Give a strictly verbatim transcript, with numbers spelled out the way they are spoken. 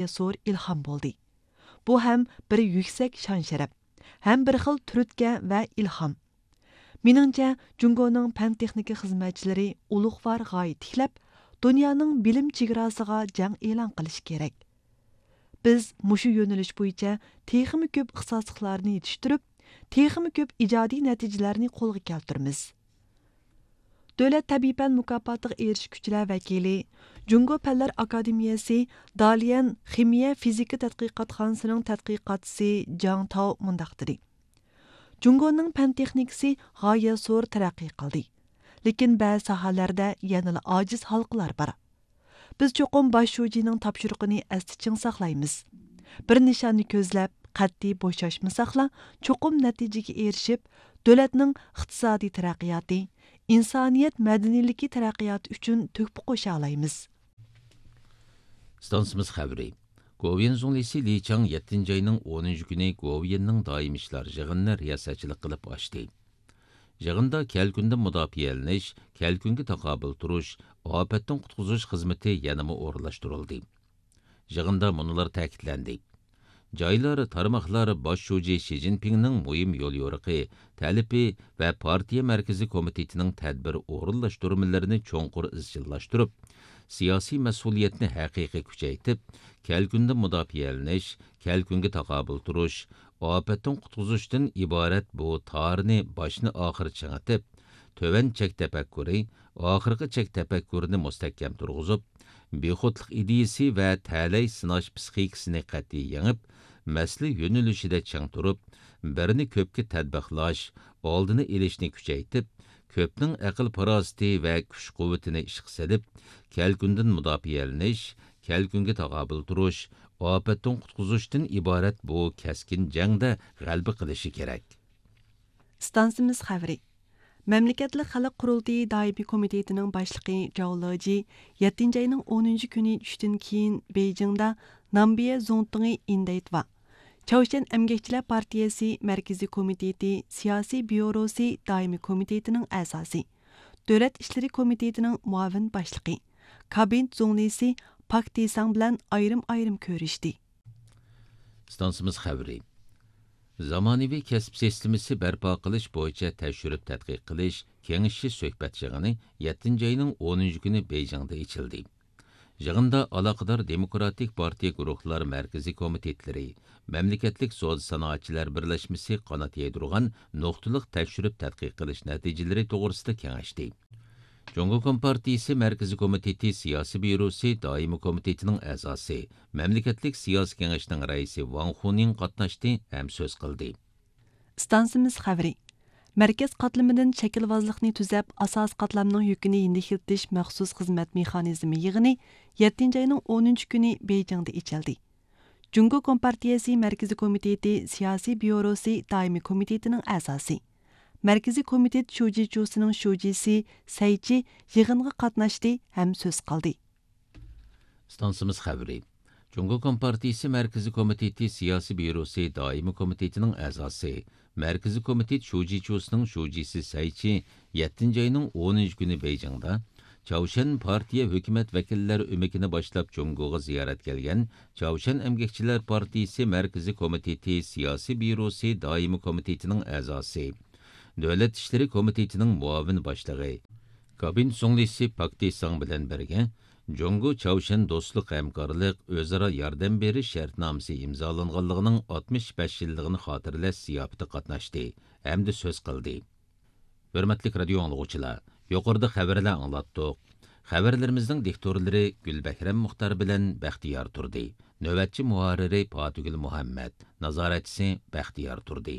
ياسۇر ئىلھام بولدى. بۇ ھەم بىر يۈكسەك شان-شەرەپ، ھەم بىر خىل تۈرتكە ۋە ئىلھام. مېنىڭچە، جۇڭگونىڭ پەن-تېخنىكا خىزمەتچىلىرى ئۇلۇغۋار غايە تىكلەپ، دۇنيانىڭ بىلىم چېگراسىغا جەڭ ئېلان قىلىشى كېرەك. بىز مۇشۇ يۆنىلىش بويىچە تېخىمۇ كۆپ ئىختىساسلىقلارنى يېتىشتۈرۈپ، تېخىمۇ كۆپ ئىجادىي نەتىجىلەرنى قولغا كەلتۈرىمىز. دۆلەت تەبىئىي پەن مۇكاپاتىغا ئېرىشكۈچىلەر ۋەكىلى، جۇڭگو پەنلەر ئاكادېمىيەسى داليەن خىمىيە فىزىكا تەتقىقاتخانىسىنىڭ تەتقىقاتچىسى جاڭ تاۋ مۇنداق دېدى: جۇڭگونىڭ پەن تېخنىكىسى غايەت زور تەرەققىي قىلدى، لېكىن بەزى ساھەلەردە يەنىلا ئاجىز ھالقىلار بار. بىز چوقۇم باش شۇجىنىڭ تاپشۇرۇقىنى ئەستە چىڭ ساقلايمىز. بىر نىشاننى كۆزلەپ، قەتئىي بوشاشمىساقلا، چوقۇم نەتىجىگە ئېرىشىپ، دۆلەتنىڭ ئىقتىسادىي تەرەققىياتى، ئىنسانىيەت مەدەنىيلىكى تەرەققىياتى ئۈچۈن تۆھپە قوشالايمىز. ئىستانسىمىز خەۋىرى. گوۋۇيۈەن زۇڭلىسى لى چاڭ يەتتىنچى ئاينىڭ ئونىنچى كۈنى گوۋۇيۈەننىڭ دائىمىي ئىشلار يىغىنىنى رىياسەتچىلىك قىلىپ ئاچتى. يىغىندا كەلكۈندىن مۇداپىئەلىنىش، كەلكۈنگە تاقابىل تۇرۇش، ئاپەتتىن قۇتقۇزۇش خىزمىتى يەنىمۇ ئورۇنلاشتۇرۇلدى. يىغىندا مۇنۇلار تەكىتلەندى: جايلار، تارماقلار باش شۇجى شى جىنپىڭنىڭ مۇھىم يوليورۇقى، تەلىپى ۋە پارتىيە مەركىزىي كومىتېتىنىڭ تەدبىر ئورۇنلاشتۇرمىلىرىنى چوڭقۇر ئىزچىللاشتۇرۇپ، سىياسىي مەسئۇلىيەتنى ھەقىقىي كۈچەيتىپ، كەلكۈندىن مۇداپىئەلىنىش، كەلكۈنگە تاقابىل تۇرۇش، ئاپەتتىن قۇتقۇزۇشتىن ئىبارەت بۇ تارنى باشتىن ئاخىر چىڭىتىپ، تۆۋەن چەك تەپەككۇرى، ئاخىرقى چەك تەپەككۇرىنى مۇستەھكەم تۇرغۇزۇپ، بىخۇدلۇق ئىدىيىسى ۋە تەلەي سىناش پىسخىكىسىنى قەتئىي يېڭىپ، مەسىلە يۆنىلىشىدە چىڭ تۇرۇپ، بىرنى كۆپكە تەتبىقلاش، ئالدىنى ئېلىشنى كۈچەيتىپ، كۆپنىڭ ئەقىل-پاراسىتى ۋە كۈچ-قۇۋۋىتىنى ئىشقا سېلىپ، كەلكۈندىن مۇداپىئەلىنىش، كەلكۈنگە تاقابىل تۇرۇش، ئاپەتتىن قۇتقۇزۇشتىن ئىبارەت بۇ كەسكىن جەڭدە غەلىبە قىلىشى كېرەك. ئىستانسىمىز خەۋىرى. مەملىكەتلىك خەلق قۇرۇلتىيى دائىمىي كومىتېتىنىڭ باشلىقى جاۋ لېجى يەتتىنچى ئاينىڭ ئونىنچى كۈنى چۈشتىن كېيىن بېيجىڭدا نامبىيە زۇڭتۇڭى ئىندەيتۋا، چاۋشيەن ئەمگەكچىلەر پارتىيەسى مەركىزىي كومىتېتى سىياسىي بيۇروسى دائىمىي كومىتېتىنىڭ ئەزاسى، دۆلەت ئىشلىرى كومىتېتىنىڭ مۇئاۋىن باشلىقى، كابىنېت زۇڭلىسى پاك تىساڭ بىلەن ئايرىم-ئايرىم كۆرۈشتى. ئىستانسىمىز خەۋىرى. زامانىۋى كەسىپ سىستېمىسى بەرپا قىلىش بويىچە تەكشۈرۈپ تەتقىق قىلىش كېڭىشىش سۆھبەت يىغىنى يەتتىنچى ئاينىڭ ئونىنچى كۈنى بېيجىڭدا ئېچىلدى. يىغىندا ئالاقىدار دېموكراتىك پارتىيە گۇرۇھلار مەركىزىي كومىتېتلىرى، مەملىكەتلىك سودا سانائەتچىلەر بىرلەشمىسى قانات يايدۇرغان نۇقتىلىق تەكشۈرۈپ تەتقىق قىلىش نەتىجىلىرى توغرىسىدا كېڭەشتى. جۇڭگو كومپارتىيىسى مەركىزىي كومىتېتى سىياسىي بيۇروسى دائىمىي كومىتېتىنىڭ ئەزاسى، مەملىكەتلىك سىياسىي كېڭەشنىڭ رەئىسى ۋاڭ خۇنىڭ قاتناشتى ھەم سۆز قىلدى. ئىستانسىمىز خەۋىرى. مەركەز قاتلىمىدىن شەكىلۋازلىقنى تۈزەپ، ئاساسىي قاتلامنىڭ يۈكىنى يېنىكلىتىش مەخسۇس خىزمەت مېخانىزمى يىغىنى يەتتىنچى ئاينىڭ ئونىنچى كۈنى بېيجىڭدا ئېچىلدى. جۇڭگو كومپارتىيەسى مەركىزىي كومىتېتى سىياسىي بيۇروسى دائىمىي كومىتېتىنىڭ ئەزاسى، مەركىزىي كومىتېت شۇجىچۇسىنىڭ شۇجىسى سەيچى يىغىنغا قاتناشتى ھەم سۆز قىلدى. ئىستانسىمىز خەۋىرى. جۇڭگو كومپارتىيىسى مەركىزىي كومىتېتى سىياسىي بيۇروسى دائىمىي كومىتېتىنىڭ ئەزاسى، مەركىزىي كومىتېت شۇجىچۇسىنىڭ شۇجىسى سەيچى يەتتىنچى ئاينىڭ ئونىنچى كۈنى بېيجىڭدا چاۋشيەن پارتىيە ھۆكۈمەت ۋەكىللەر ئۆمىكىنى باشلاپ جۇڭگوغا زىيارەت كەلگەن چاۋشيەن ئەمگەكچىلەر پارتىيىسى مەركىزىي كومىتېتى سىياسىي بيۇروسى دائىمىي كومىتېتىنىڭ ئەزاسى، دۆلەت ئىشلىرى كومىتېتىنىڭ مۇئاۋىن باشلىقى، كابىنېت زۇڭلىسى پاك تىساڭ بىلەن بىرگە جۇڭگو چاۋشيەن دوستلۇق ھەمكارلىق، ئۆزئارا ياردەم بېرىش شەرتنامىسى ئىمزالانغانلىقىنىڭ ئاتمىش بەش يىللىقىنى خاتىرىلەش زىياپىتىگە قاتناشتى ھەمدە سۆز قىلدى. ھۆرمەتلىك رادىيو ئاڭلىغۇچىلار، يۇقىرىدا خەۋەرلەر ئاڭلاتتۇق. خەۋەرلىرىمىزنىڭ دىكتورلىرى گۈلبەھرەم مۇختار بىلەن بەختىيار تۇردى. نۆۋەتچى مۇھەررىرى پاتىگۈل مۇھەممەد، نازارەتچىسى بەختىيار تۇردى.